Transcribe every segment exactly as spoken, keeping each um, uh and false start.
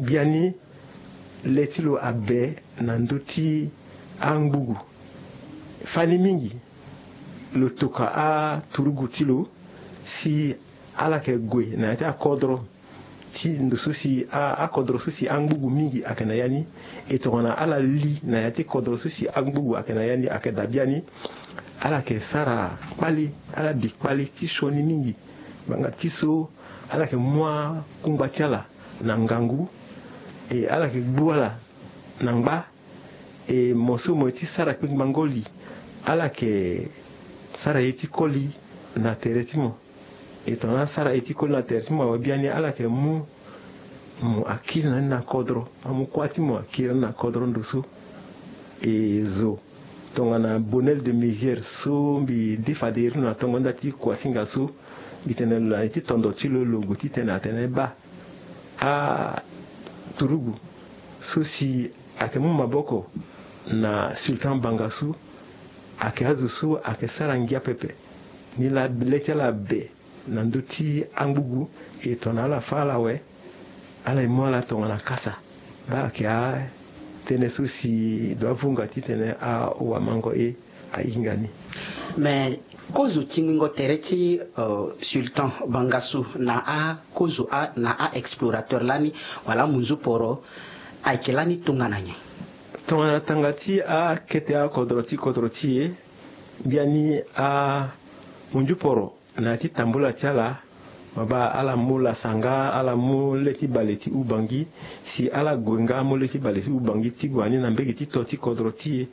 Biani le ti lo abe na ndö ti angbugu. Fani mingi lo toka aturugu ti lo si ala yeke gue na ya ti akodro ti ndo so si a- akodro so si angbugu mingi ayeke na ya ni. E tongana ala li na ya ti kodro so si angbugu ayeke na ya ni ayeke daa biani. Ala yeke sara kpali, ala bi kpali ti sioni mingi. Ngbanga ti so ala yeke mu akungba ti ala na ngangu, e ala yeke gbu ala na ngba. E mo so mo ye ti sara kpengbango li, ala yeke sara ye ti koli na tere ti mo. E tongana asara ye ti koli na tere ti mo awe biani, ala yeke mu mo akiri na ni na kodro, amu kuâ ti mo akiri na ni na kodro ndo so. E zo tongana Bonel de Mézières so mbi de fade iri na tongo nda ti kuasinga so, mbi tene lo na ye ti tondo ti lo, lo gue titene atene baa aturugu so si ayeke mu maboko na Sultan Bangassou, ayeke azo so ayeke sara ngia pepe. Ni laa le ti ala abe na ndö ti angbugu, e tongana ala fâ ala awe, ala ye mu ala tongana kasa. Baa ayeke atënë so si e dua vunga titene awamango e ahinga ni. Me kozo tingbingo tere ti, euh, Sultan Bangassou na akozo a- na a-explorateur lani wala amunzu poro ayeke lani tongana nyen? Tongana tanga ti akete akodro ti kodro ti e, biani amunzu poro na ya ti tambula ti ala, ma baa ala mu lasa nga, ala mu le ti bale ti Ubangi, si ala gue nga amu le ti bale ti Ubangi ti gue na ni na mbege ti to ti kodro ti e.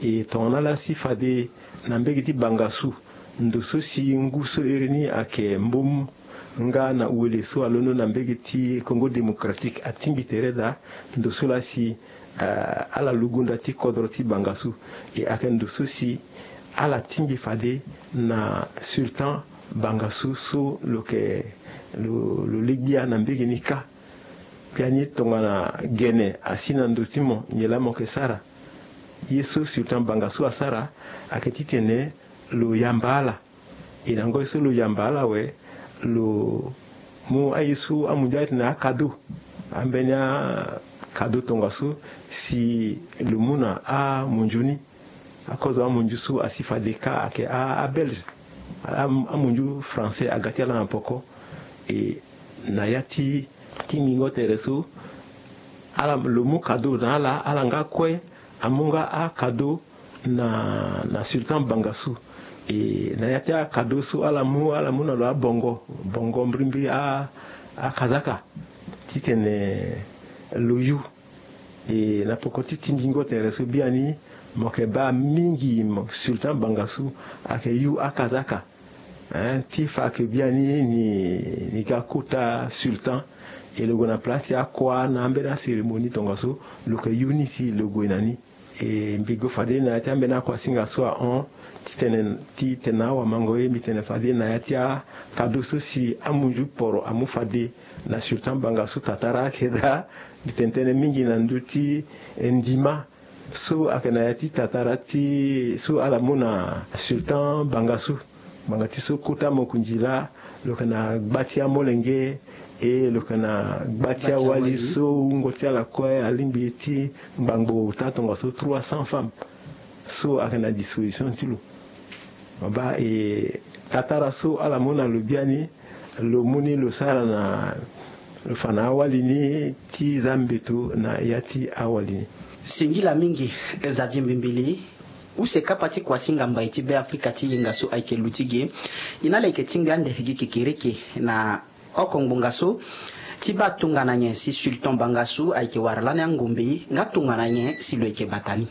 E tongana ala si fade na mbege ti Bangassou, ndo so si ngu so iri ni ayeke mbom nga na wele so alondo na mbege ti Congo Démocratique atingbi tere daa, ndo so laa si, eh, ala lugundu ti kodro ti Bangassou. E ayeke ndo so si ala tingbi fade na Sultan Bangassou so lo yeke lo, lo le gbia na mbege ni kâ. Biani tongana gene asi na ndo ti mo, nyen laa mo yeke sara? Ye so Sultan Bangassou asara ayeke titene lo yamba ala. E na ngoi so lo yamba ala awe, lo mu aye so amunzu atene akado, ambeni akado tongaso si lo mu na amunzu ni. Akozo amunzu so asi fade kâ ayeke a- abelge, a- amunzu français aga ti ala na poko. E na ya ti tingbingo tere so, ala lo mu kado na ala, ala nga kue amu nga akado na, na Sultan Bangassou. E na ya ti akado so ala mu, ala mu na lo abongo, bongo mbirimbiri a- akazaka titene lo yu. E na poko ti tingbingo tere so biani, mo yeke baa mingi mo Sultan Bangassou ayeke yu akazaka. Hein, ti fa ke biani ni, ni ga kota Sultan, e lo gue na place ti akua na ambeni acérémonie tongaso, lo yeke yu ni si lo gue na ni. E mbi gue fade na ya ti ambeni akuasinga so ahon, titene, titene awamango ye, mbi tene fade na ya ti akado so si amunzu poro amu fade na Sultan Bangassou, tatara ayeke daa. Mbi tene tënë mingi na ndö ti, eh, ndima so ayeke na ya ti tatara ti so ala mu na Sultan Bangassou. Ngbanga ti so kota mokonzi laa, lo yeke na gba ti amolenge, e lo yeke na gba ti awali so wungo ti ala kue alingbi ti ngbangbo ota tongaso trois cents femmes so ayeke na disposition ti lo. Mo baa, e tatara so ala mu na lo biani, lo mu ni lo sara na, lo fa na awali ni ti za mbeto na ya ti awali ni. Singila mingi, Xavier Mbimbili. Use kapa ti kuasinga mbai ti Beafrika ti yenga so ayeke lu ti ge. E na ala yeke tingbi ande gi kekereke na oko ngbonga so ti baa tongana nyen si Sultan Bangassou ayeke wara lani angombe, nga tongana nyen si lo yeke bata ni.